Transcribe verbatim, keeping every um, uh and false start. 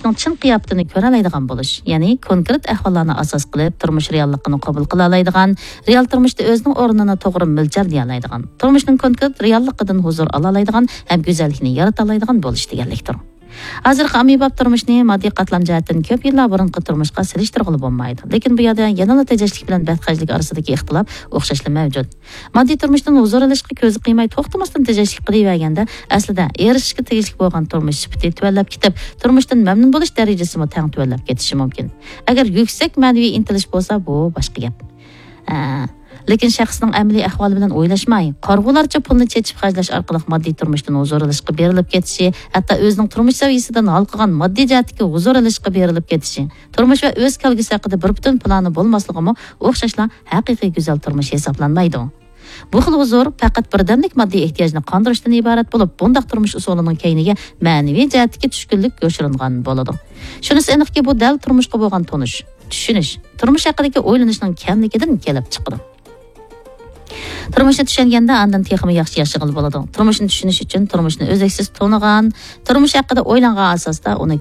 تۇرمۇشنىڭ چىن قىياپىتىنى كۆرەلەيدىغان بولۇش، يەنى كونكرېت ئەھۋاللارنى ئاساس قىلىپ، تۇرمۇش رېئاللىقىنى قوبۇل قىلالايدىغان، رېئال تۇرمۇشتا ئۆزىنىڭ ئورنىنى توغرا مۆلچەرلىيەلەيدىغان، تۇرمۇشنىڭ كونكرېت رېئاللىقىدىن ھۇزۇر ئالالايدىغان ھەم گۈزەللىكنى يارىتالايدىغان بولۇش دېگەنلىكتۇر. ھازىرقى ئاممىباب تۇرمۇشنى ماددىي قاتلام جەھەتتىن كۆپ يىللار بۇرۇنقى تۇرمۇشقا سېلىشتۇرغىلى بولمايدۇ. لېكىن بۇ يەردە يەنىلا تېجەشلىك بىلەن بەختخەجلىك ئارىسىدىكى ئىختىلاپ ئوخشاشلا مەۋجۇت. ماددىي تۇرمۇشتىن ھۇزۇر ئېلىشقا كۆزى قىيماي توختىماستىن تېجەشلىك قىلىۋەرگەندە، ئەسلىدە ئېرىشىشكە تېگىشلىك بولغان تۇرمۇش سۈپىتى تۆۋەنلەپ كېتىپ، تۇرمۇشتىن مەمنۇن بولۇش دەرىجىسىمۇ تەڭ تۆۋەنلەپ كېتىشى مۇمكىن. ئەگەر يۈكسەك مەنىۋى ئىنتىلىش بولسا، بۇ باشقا گەپ. ئە، لېكىن شەخسنىڭ ئەمەلىي ئەھۋالى بىلەن ئويلاشماي، قارىغۇلارچە پۇلنى چېچىپ خەجلەش ئارقىلىق ماددىي تۇرمۇشتىن ھۇزۇر ئېلىشقا بېرىلىپ كېتىشى، ھەتتا ئۆزىنىڭ تۇرمۇش سەۋىيەسىدىن ھالقىغان ماددىي جەھەتتىكى ھۇزۇر ئېلىشقا بېرىلىپ كېتىشى، تۇرمۇش ۋە ئۆز كەلگۈسى ھەققىدە بىر پۈتۈن پىلانى بولماسلىقىمۇ ئوخشاشلا ھەقىقىي گۈزەل تۇرمۇش ھېسابلانمايدۇ. بۇ خىل ھۇزۇر پەقەت بىردەملىك ماددىي ئېھتىياجنى قاندۇرۇشتىن ئىبارەت بولۇپ، بۇنداق تۇرمۇش ئۇسۇلىنىڭ كەينىگە مەنىۋى جەھەتتىكى چۈشكۈنلۈك يوشۇرۇنغان بولىدۇ. شۇنىسى ئېنىقكى، بۇ دەل تۇرمۇشقا بولغان تونۇش، چۈشىنىش، تۇرمۇش ھەققىدىكى ئويلىنىشنىڭ كەملىكىدىن كېلىپ چىقىدۇ. تۇرمۇشنى چۈشەنگەندە، ئاندىن تېخىمۇ ياخشى ياشىغىلى بولىدۇ. تۇرمۇشنى چۈشىنىش ئۈچۈن تۇرمۇشنى ئۈزلۈكسىز تونۇغان، تۇرمۇش ھەققىدە ئويلانغان ئاساستا ئۇنى